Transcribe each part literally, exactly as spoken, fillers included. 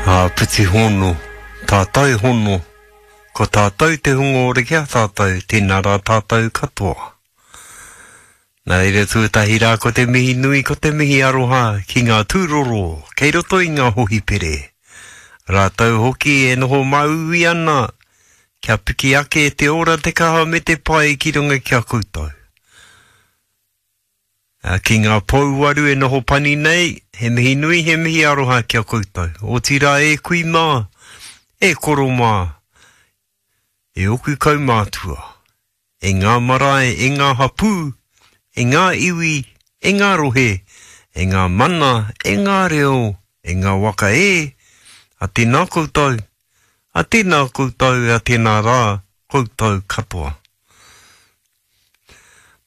Āpiti hono, tātai hono, ko tātou te hunga ora ki a tātou, tēnā rā tātou katoa. Nā reira tuatahi rā ko te mihi nui, ko te mihi aroha ki ngā tūroro kei roto i ngā hohipere. Rātou hoki e noho māuiui ana kia piki ake te ora, te kaha me te pai ki runga ki a koutou. Ki ngā pouwaru e noho pani nei, he mihi nui, he mihi aroha ki a koutou. Otirā e kui mā, e koro mā, e oku kaumātua, e ngā marae, e ngā hapū, e ngā iwi, e ngā rohe, e ngā mana, e ngā reo, e ngā waka e, a tēnā koutou, a tēnā koutou, a tēnā rā koutou katoa.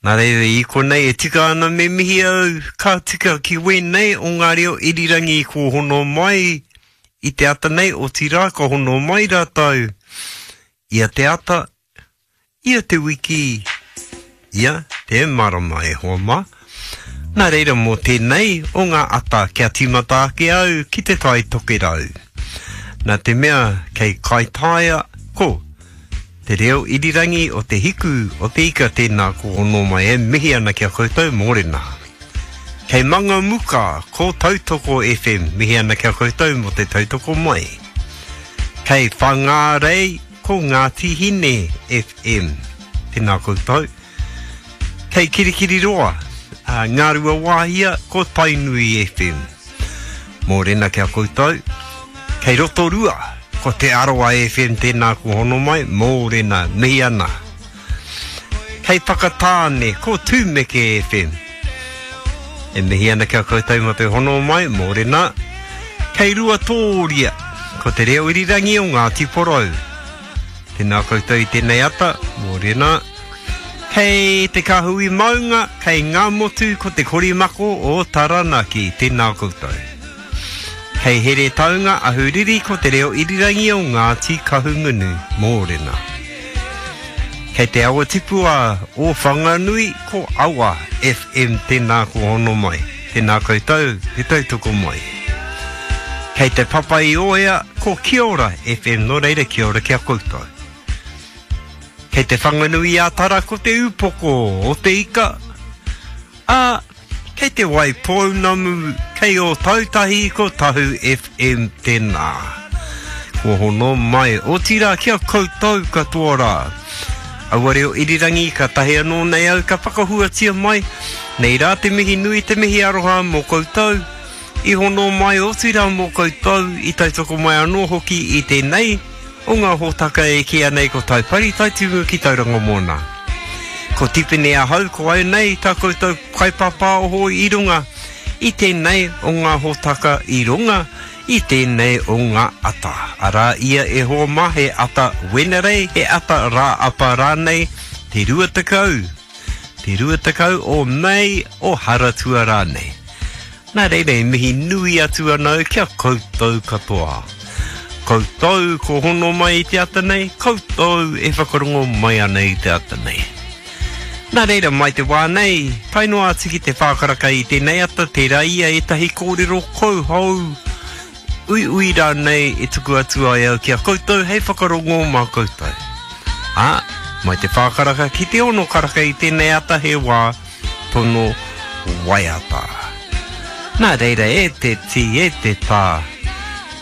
Nā reira i konei e tika ana me mihi au ka tika ki wēnei o ngā reo irirangi ko hono mai i te ata nei, otirā ka hono mai rātou ia te ata, ia te wiki, ia te marama e hoa mā. Nā reira mō tēnei o ngā ata kia tīmata ake au ki te Tai Tokerau. Nā te mea kei Kaitaia ko te reo irirangi o te hiku o te ika tēnā ko hono mai e mihi ana ki a koutou mōrena. Kei Mangamuka ko Tautoko F M mihi ana ki a koutou mō te tautoko mai. Kei Whangārei ko Ngāti Hine F M tēnā koutou. Kei Kirikiriroa, a Ngārua Wāhia ko Tainui F M. Mōrena ki a koutou. Kei Rotorua, ko Te Arawa F M tēnā ko hono mai, mōrena, mihi ana. Kei Whakatāne, ko Tūmeke F M. E mihi ana ki a koutou mō te hono mai, mōrena. Kei Ruatōria, ko te reo irirangi o Ngāti Porou. Tēnā koutou i tēnei ata, mōrena. Kei Te Kahui Maunga, kei Ngāmotu ko te korimako o Taranaki, tēnā koutou. Kei Heretaunga, Ahuriri ko te reo irirangi o Ngāti Kahungunu, mōrena. Kei te awa tipua o Whanganui ko Awa F M tēnā ko hono mai, tēnā koutou, te tautoko mai. Kei te papa i Oea ko Kiora F M, nō reira kia ora ki a koutou. Kei te Whanganui ā Tara ko te upoko o te ika, a kei te Waipounamu, kei Ōtautahi ko Tahu F M tēnā. Ko hono mai, otirā kia koutou katoa rā. Aua reo irirangi ka tahi anō nei au ka whakahuatia mai, nei rā te mihi nui te mihi aroha mō koutou, i hono mai otirā mō koutou, i tautoko mai anō hoki i tēnei, o ngā hōtaka e kīia nei ko Taipari Taitumu ki Tauranga Moana. Ko Tipene ahau ko au nei tā koutou kaipāpāoho i runga i tēnei o ngā hōtaka i runga i tēnei o ngā ata. Arā ia e hoa mā he ata Wenerei, he ata rā apa rānei, te rua tekau, te rua tekau o Mei o Haratua rānei. Nā reira e mihi nui atu ana au kia koutou katoa. Koutou ko hono mai i te ata nei, koutou e whakarongo mai ana i te ata nei. Nā reira mai te wā nei, tae noa atu ki te whākaraka i tēnei ata, tērā ia ētahi kōrero kouhou, uiui rānei e tuku atu ai au ki a koutou hei whakarongo mā koutou. Ā, mai te whākaraka ki te ono karaka i tēnei ata he wā tono waiata. Nā reira e te tī, e te tā,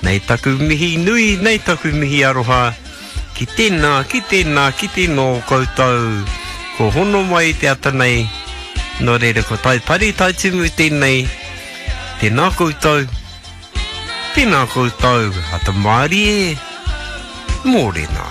nei taku mihi nui, nei taku mihi aroha, ki tēnā, ki tēnā, ki tēnō koutou, ko hono mai i te ata nei, nō reira ko Taipari Taitumu tēnei, tēnā koutou, tēnā koutou, ata mārie, mōrena.